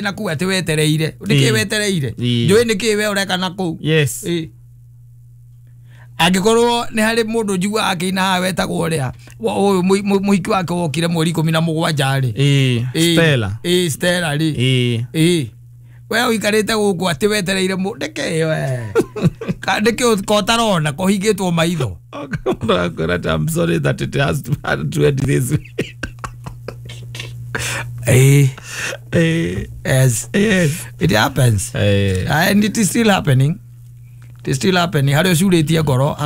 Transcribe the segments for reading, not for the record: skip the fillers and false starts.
Na kuu atĩ wetereire nĩkĩ wetereire njũĩ nĩkĩ we ũreka na kũu. Yes. Angĩkorwo nĩ harĩ mũndũ njiguaga akĩina haha wetagwo ũrĩa ũyũ mũhiki wake wokire mweri 17 rĩ. Stella. Stella rĩ. We ũikarĩte gũkũ atĩ wetereire ndĩkĩ we ndĩkĩ kotarona kũhingĩtwo maitho. I'm sorry that it has to end this way. Yes. Yes. It happens. And it is still happening. It is still happening. Harĩa ũcurĩtie ngoro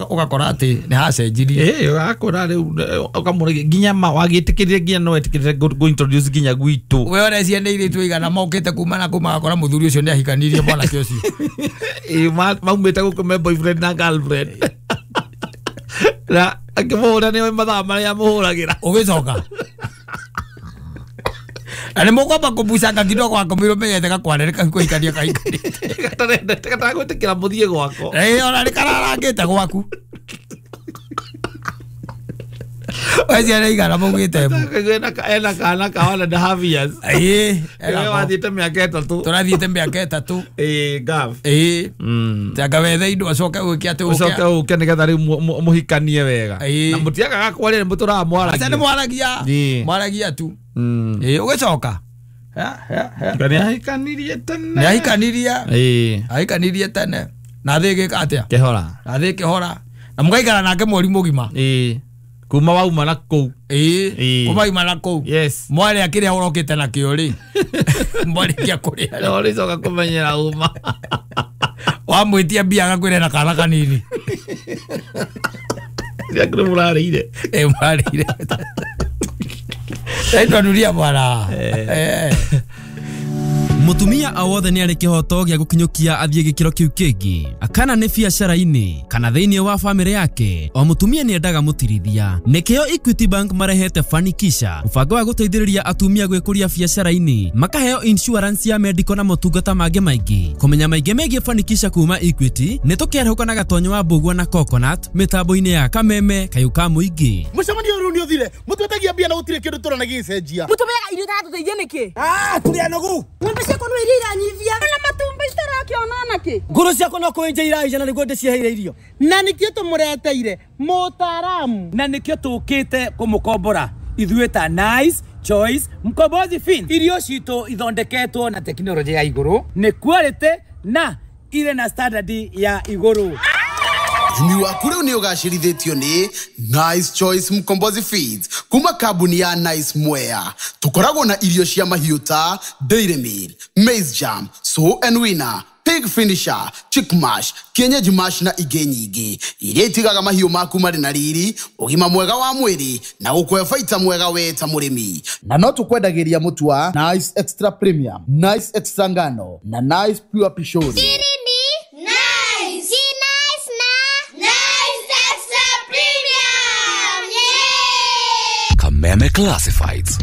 ũgakora atĩ nĩ hacenjirie. Ũgakora rĩu ũkamũrĩgia nginya ma wagĩtĩkĩrire nginya no wetĩkĩrire go introduce nginya gwitũ. We ũrĩa ciana irĩtu igana mokĩte kuma na kuma agakora mũthuri ũcio nĩ ahikanirie mwanake ũcio. Maumĩte gũkũ me boyfriend na girlfriend. Na akĩmũhũra nĩwe mathaa marĩa amũhũragĩra. Ũgĩcoka. Na nĩ mũkwamba kũbucanga kidogo akomirwo menyete gakwarĩrĩka kũhikania kahikanĩte. Gatarendete mũthiĩ gwako. Ona nĩ kararangĩte gwaku. We ciana igana maugĩte mbu. Ena kana ka 1.5 years. Wathiĩte mĩaka 3. Tũrathiĩte mĩaka 3. Gav. Tanga wethe indo acoke ũke atĩ ũke. Ũcoke ũke nĩgetha rĩu mũhikanie wega. Na mũtiagaga kwaria nĩ mũtũraga mwaragia. Aca nĩ mwaragia. Mwaragia tu. Ũgĩcoka. Nĩ ahikanirie tene. Nĩ ahikanirie. Ahikanirie tene. Na thĩ ĩgĩka atĩa? Kĩhora. Na thĩ kĩhora. Na mũgaikara nake mweri mũgima. Kuma wauma na kũu. Kuma wauma na kũu. Yes. Mwarĩa kĩrĩa ũrokĩte nakĩo rĩ. Mwarĩkia kũrĩa. No ũrĩcoka kũmenyera uma. Wamwĩtia mbia agakwĩra na kana kanini. Kĩrĩa mũrarĩire. Mũrarĩire. Twanuria bwana. Mutumia o wothe nĩ arĩ kĩhoto gĩa gũkinyũkia athiĩ gĩkĩro kĩu kĩngĩ kana nĩ biacara-inĩ kana thĩinĩ wa bamĩrĩ yake. O mũtumia nĩ endaga mũtirithia. Nĩkĩo Equity Bank marehete Fanikisha, mũbango wa gũteithĩrĩria atumia gwĩkũria biacara-inĩ, makaheo insurance ya medical na motungata mangĩ maingĩ. Kũmenya maingĩ megiĩ Fanikisha kuma Equity nĩ tũkĩarahũka na Gatonyo wa Mbũgua na Coconut mĩtambo-inĩ ya Kameme kayũ ka mũingĩ. Mũcemanio ũyũ nĩ ũthire mũtwetagia mbia na gũtirĩ kĩndũ tũrona gĩgĩcenjia. Mũtũmeaga irio itatũteithia nĩkĩ? Tũrĩ anogu. Ng'ombe ciakwa no iria iranyivia na matumbi citarakĩona nakĩ. Ngũrũ ciakwa no kũenja iraija na nĩguo ndĩciheire irio. Na nĩkĩo tũmũreteire mũtaaramu. Na nĩkĩo tũkĩte kũmũkombora ithuĩ ta Nice Choice Mkombozi Fin. Irio citũ ithondeketwo na tekinoronjĩ ya igũrũ, nĩ quality na irĩ na standard ya igũrũ. Ũrĩmi waku rĩu nĩ ũgacĩrithĩtio nĩ Nice Choice Mkombozi Feeds kuma kambuni ya Nice Mwea. Tũkoragwo na irio cia mahiũ ta Dairy Meal, Maize Jam, Sow and Winner, Pig Finisher, Chick Mash, Kienyeji Mash na ingĩ nyingĩ iria itigaga mahiũ maku marĩ na riri, ũgima mwega wa mwĩrĩ na gũkũhe baita mwega we ta mũrĩmi. Na no tũkwendagĩria mũtu wa Nice Extra Premium, Nice Extra Ngano na Nice Pure Pishori. Kameme Classifieds.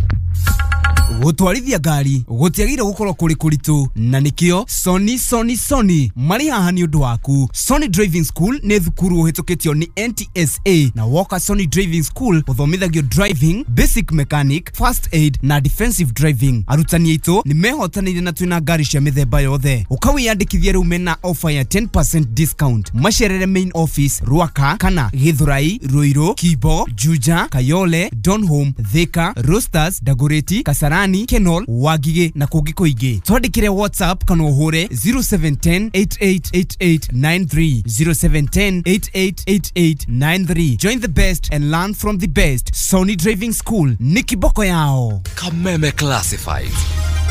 Gũtwarithia ngari gũtiagĩrĩire gũkorwo kũrĩ kũritũ na nĩkĩo Sony Sony Sony marĩ haha nĩ ũndũ waku. Sony Driving School nĩ thukuru ũhĩtũkĩtio nĩ NTSA na woka Sony Driving School ũthomithagio driving, basic mechanic, first aid na defensive driving. Arutani aitũ nĩ mehotanĩire na twĩna ngari cia mĩthemba yothe. Ũkawĩyandĩkithia rĩu mena offer ya 10% discount. Macerere main office Ruaka kana Githurai, Ruiru, Kibo, Juja, Kayole, Donholm, Thika, Roasters, Dagoretti, Kasarani, Kenol, Wagige na kũngĩ kũingĩ. Twandĩkĩre WhatsApp kana ũhũre 0710 888893 0710 888893. Join the best and learn from the best. Sony Driving School ni kiboko yao. Kameme Classifieds.